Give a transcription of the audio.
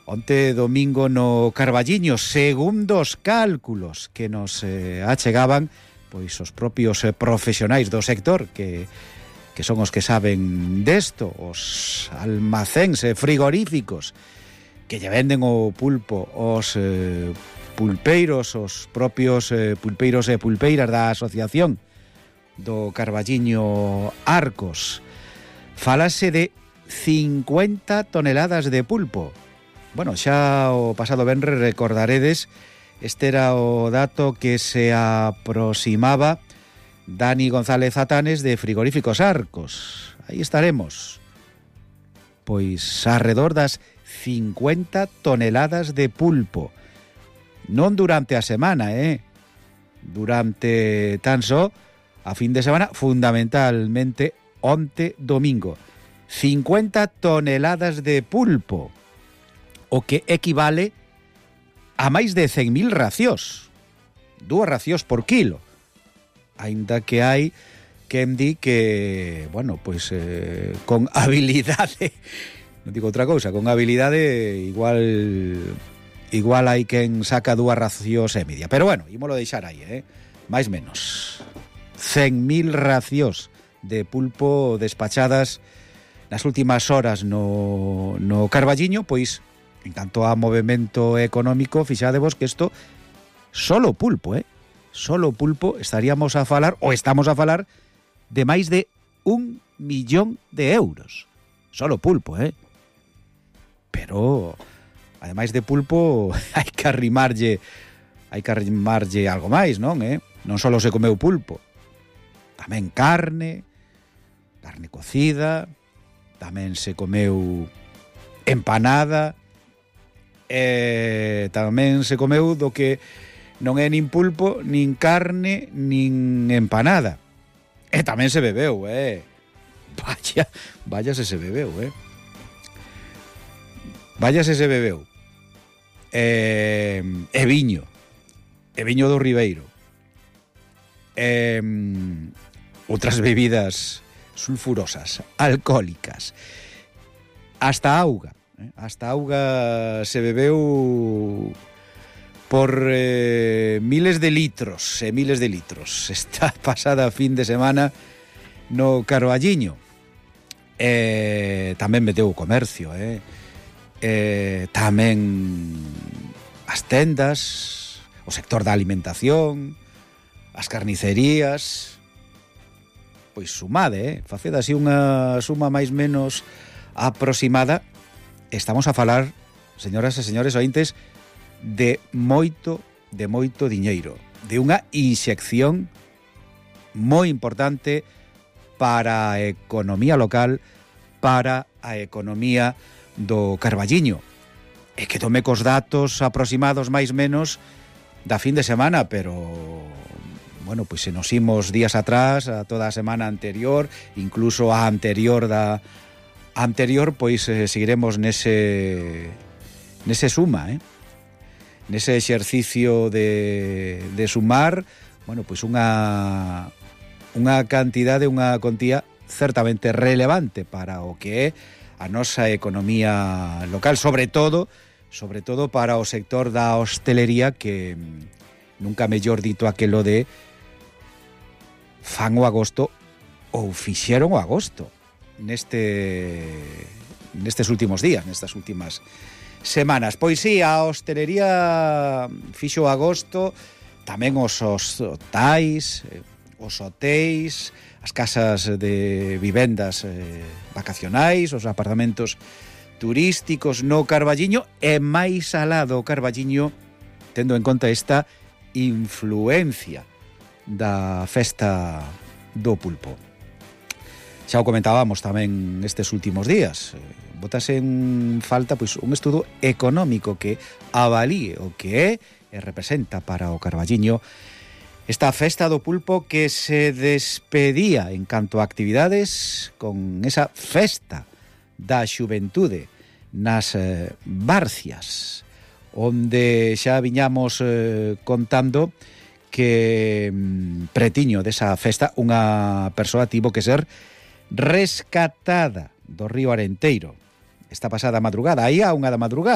onte domingo no Carballiño, segundo os cálculos que nos achegaban pois os propios profesionais do sector que son os que saben desto, os almacéns frigoríficos que lle venden o pulpo os pulpeiros, os propios pulpeiros e pulpeiras da asociación do Carballiño Arcos. Fálase de 50 toneladas de pulpo. Bueno, xa o pasado venres recordaredes, este era o dato que se aproximaba Dani González Atanes de Frigoríficos Arcos. Aí estaremos. Pois arredor das 50 toneladas de pulpo. Non durante a semana, durante tan só a fin de semana, fundamentalmente onte domingo. 50 toneladas de pulpo, o que equivale a máis de 100.000 racións. 2 racións por kilo. Aínda que hai quen di que, bueno, pois con habilidade, non digo outra cousa, con habilidade igual hai quen saca 2 racións e media. Pero bueno, ímolo deixar aí, máis menos. 100.000 racións de pulpo despachadas nas últimas horas no Carballiño, pois en canto a movimento económico, fixadevos que isto solo pulpo, solo pulpo estaríamos a falar, ou estamos a falar, de máis de 1 millón de euros. Solo pulpo, Pero, ademais de pulpo, hai que arrimarlle algo máis, non, Non só se comeu pulpo, tamén carne cocida, tamén se comeu empanada, tamén se comeu do que non é nin pulpo, nin carne, nin empanada. E tamén se bebeu, Vaya se bebeu, Vaya se bebeu. E viño do Ribeiro. Outras bebidas sulfurosas, alcohólicas. Hasta auga se bebeu por miles de litros e miles de litros esta pasada fin de semana no Carballiño. Tamén meteu o comercio, tamén as tendas, o sector da alimentación, as carnicerías. Pois sumade, faced así unha suma máis menos aproximada. Estamos a falar, señoras e señores ointes, de moito diñeiro, de unha inxección moi importante para a economía local, para a economía do Carballiño. E que tome cos datos aproximados máis menos da fin de semana, pero bueno, pois se nos imos días atrás, a toda a semana anterior, incluso a anterior da anterior, pois seguiremos nese suma, nese exercicio de sumar, bueno, pois unha cantidade, unha contía certamente relevante para o que é a nosa economía local, sobre todo para o sector da hostelería, que nunca mellor dito aquelo de fan o agosto ou fixeron o agosto nestes últimos días, nestas últimas semanas. Pois sí, a hostelería fixo o agosto, tamén os hotais, os hotéis, as casas de vivendas vacacionais, os apartamentos turísticos no Carballiño, e máis alá do Carballiño, tendo en conta esta influencia da festa do pulpo. Xa o comentábamos tamén estes últimos días. Botase en falta pois un estudo económico que avalíe o que é e representa para o Carballiño esta festa do pulpo, que se despedía en canto a actividades con esa festa da xuventude nas Barcias, onde xa viñamos contando que pretiño desa festa unha persoa tivo que ser rescatada do río Arenteiro esta pasada madrugada, aí a 1 da madrugada.